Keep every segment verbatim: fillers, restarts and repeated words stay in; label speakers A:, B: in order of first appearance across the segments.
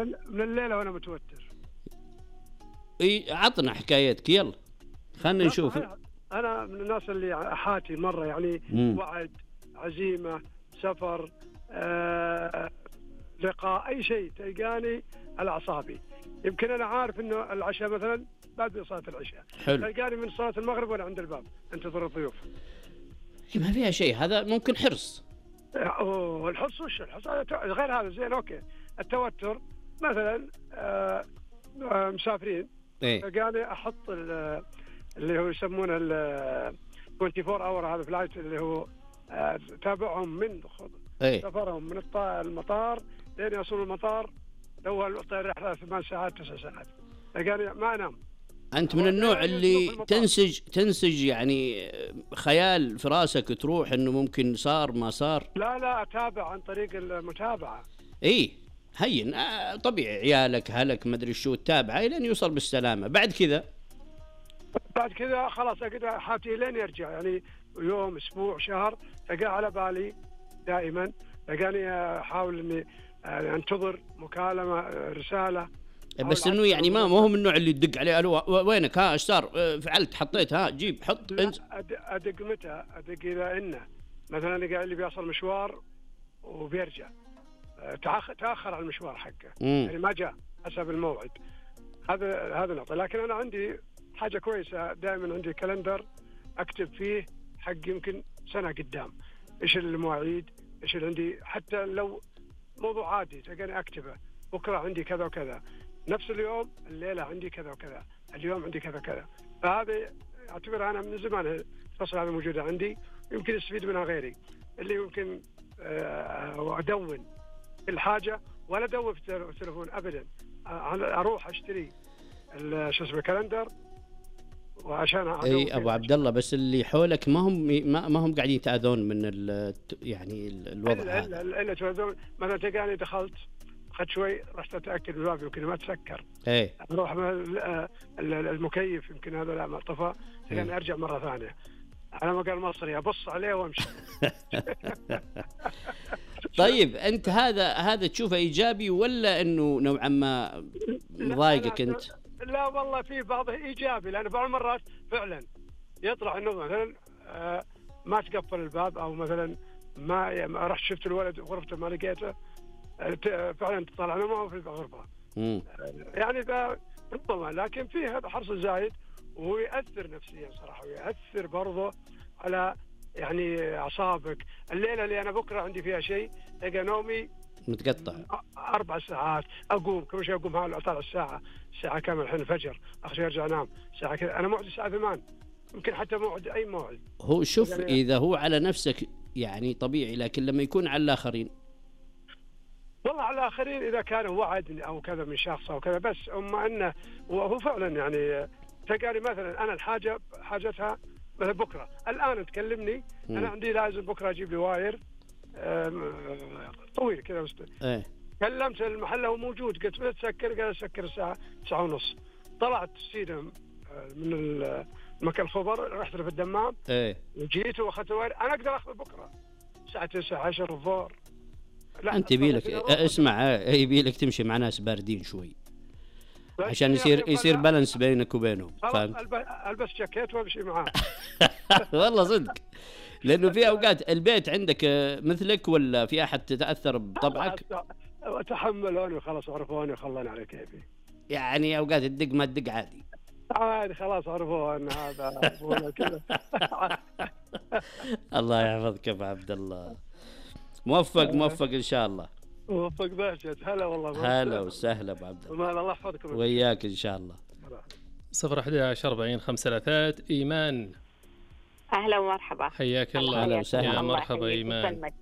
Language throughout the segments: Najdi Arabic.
A: من الليلة وأنا متوتر.
B: اي عطنا حكايتك يلا خلنا نشوف.
A: أنا من الناس اللي حاتي مرة يعني مم. وعد، عزيمة، سفر، آه، لقاء، أي شيء تلقاني على أعصابي. يمكن أنا عارف إنه العشاء مثلا بعد صلاة العشاء، تلقاني من صلاة المغرب وأنا عند الباب انتظر الضيوف.
B: ما فيها شيء، هذا ممكن حرص.
A: أوه الحرص وش الحرص؟ غير هذا زين أوكي. التوتر مثلا آه مسافرين
B: إيه؟
A: تلقاني أحط اللي هو يسمونه ال أربعة وعشرين اور هذا فلايت اللي هو آه تابعهم من
B: إيه؟
A: سفرهم من المطار لين يوصلوا المطار. لو الطيارة رحلة ثمان ساعات تسع ساعات تلقاني ما أنام.
B: أنت من النوع اللي تنسج تنسج يعني خيال في راسك تروح إنه ممكن صار ما صار؟
A: لا لا أتابع عن طريق المتابعة.
B: إيه هين آه طبيعي، عيالك هلك ما أدري شو تتابعه لين يوصل بالسلامة. بعد كذا
A: بعد كذا خلاص أقدر حاتي لين يرجع، يعني يوم أسبوع شهر تلقى على بالي دائما. تلقاني أحاول إني أنتظر مكالمة رسالة،
B: بس انه يعني ما هو من النوع اللي تدق عليه الو وينك ها ايش صار فعلت حطيت ها جيب حط انت.
A: ادق متى ادق اذا انه مثلا قال لي بيصل مشوار وبيرجع تاخر تاخر على المشوار حقه مم. يعني ما جاء حسب الموعد. هذا هذا نقطه. لكن انا عندي حاجه كويسه، دائما عندي كالندر اكتب فيه حق يمكن سنه قدام ايش المواعيد ايش اللي عندي، حتى لو موضوع عادي تلقاني اكتبه. بكره عندي كذا وكذا، نفس اليوم الليلة عندي كذا وكذا، اليوم عندي كذا وكذا. فهذا أعتبر أنا من زمان الفصل هذا موجودة عندي، يمكن يستفيد منها غيري اللي يمكن أدون الحاجة ولا أدون في التلفون أبدا. أروح أشتري شو اسمه كالندر وعشان
B: اي ابو عبد الله. بس اللي حولك ما هم ما, ما هم قاعدين يتأذون من ال يعني الوضع هذا.
A: إلا إلا تأذون. مثلا تلقاني دخلت خد شوي رحت أتأكد الباب يمكن ما تسكر.
B: ايه
A: أروح المكيف يمكن هذا لا ما طفى، يعني أرجع مرة ثانية على ما قال مصري أبص عليه وأمشي.
B: طيب أنت هذا هذا تشوفه إيجابي ولا إنه نوعا ما مضايقك أنت؟
A: لا والله في بعضه إيجابي، لأن بعض المرات فعلا يطلع إنه مثلا ما تقفل الباب أو مثلا ما رحت شفت الولد غرفته ما لقيته فعلا تطلع أنا ما هو في الغرفة. يعني ربما لكن فيه هذا حرص زايد وهو يأثر نفسيا صراحة، ويأثر برضه على يعني أعصابك. الليلة اللي أنا بكرة عندي فيها شيء تلقى نومي
B: متقطع
A: أربع ساعات. أقوم كل شيء أقوم هذا أطلع الساعة الساعة كامل الحين الفجر أخشى أرجع أنام ساعة كذا. أنا موعد الساعة ثمان يمكن حتى موعد أي موعد.
B: هو شوف يعني إذا هو على نفسك يعني طبيعي، لكن لما يكون على الآخرين
A: والله على الآخرين إذا كان وعد أو كذا من شخص أو كذا بس أما أنه وهو فعلا يعني تلقاني مثلا أنا الحاجة حاجتها مثلا بكرة الآن تكلمني م. أنا عندي لازم بكرة أجيب لي واير طويل كذا
B: ايه.
A: كلمت المحل هو موجود قلت له تسكر قال سكر الساعة تسعة ونص. طلعت سيدة من المكان الخبر رحت له في الدمام
B: ايه.
A: وجيت وأخذت الواير. أنا أقدر أخذ بكرة الساعة تسعة عشر الظهر.
B: أنت يبيلك اسمع يبيلك تمشي مع ناس باردين شوي عشان يصير يصير بالانس بينك وبينهم.
A: فهمت؟ ألبس جاكيت وأمشي معاه.
B: والله صدق، لأنه في أوقات البيت عندك مثلك ولا في أحد تتأثر بطبعك؟
A: تحملوني وخلاص عرفوني وخلوني على كيفي.
B: يعني أوقات الدق ما الدق عادي
A: عادي خلاص عرفوا أن هذا كذا.
B: الله يحفظك يا أبو عبد الله. موفق موفق إن شاء الله.
A: موفق بهجت. هلا
B: والله. هلا وسهلا أبو عبد الله.
A: الله يحفظكم
B: وياك إن شاء الله.
C: صفر أحد عشر أربعين خمسة ثلاثات. إيمان
D: أهلا ومرحبا.
C: حياك الله.
B: أهلا وسهلا.
C: يا مرحبا إيمان.
D: يسلمك.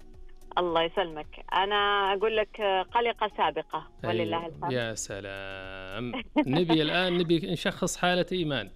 D: الله يسلمك. أنا أقول لك قلقة سابقة ولله الحمد.
C: يا سلام. نبي الآن نبي نشخص حالة إيمان.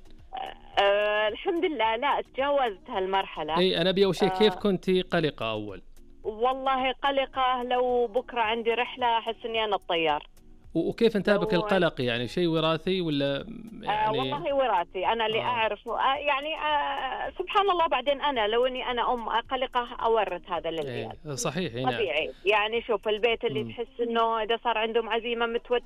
D: أه الحمد لله لا تجاوزت هالمرحلة.
C: أي أنا أبي أول شيء كيف كنتي قلقة أول؟
D: والله قلقة لو بكرة عندي رحلة أحس إني أنا الطيار.
C: وكيف انتابك القلق يعني شيء وراثي ولا يعني؟
D: آه والله وراثي أنا اللي آه. أعرف آه يعني آه سبحان الله. بعدين أنا لو إني أنا أم قلقة أورث هذا للعيال.
C: إيه صحيح.
D: طبيعي. يعني شوف البيت اللي م. تحس إنه إذا صار عندهم عزيمة متوتر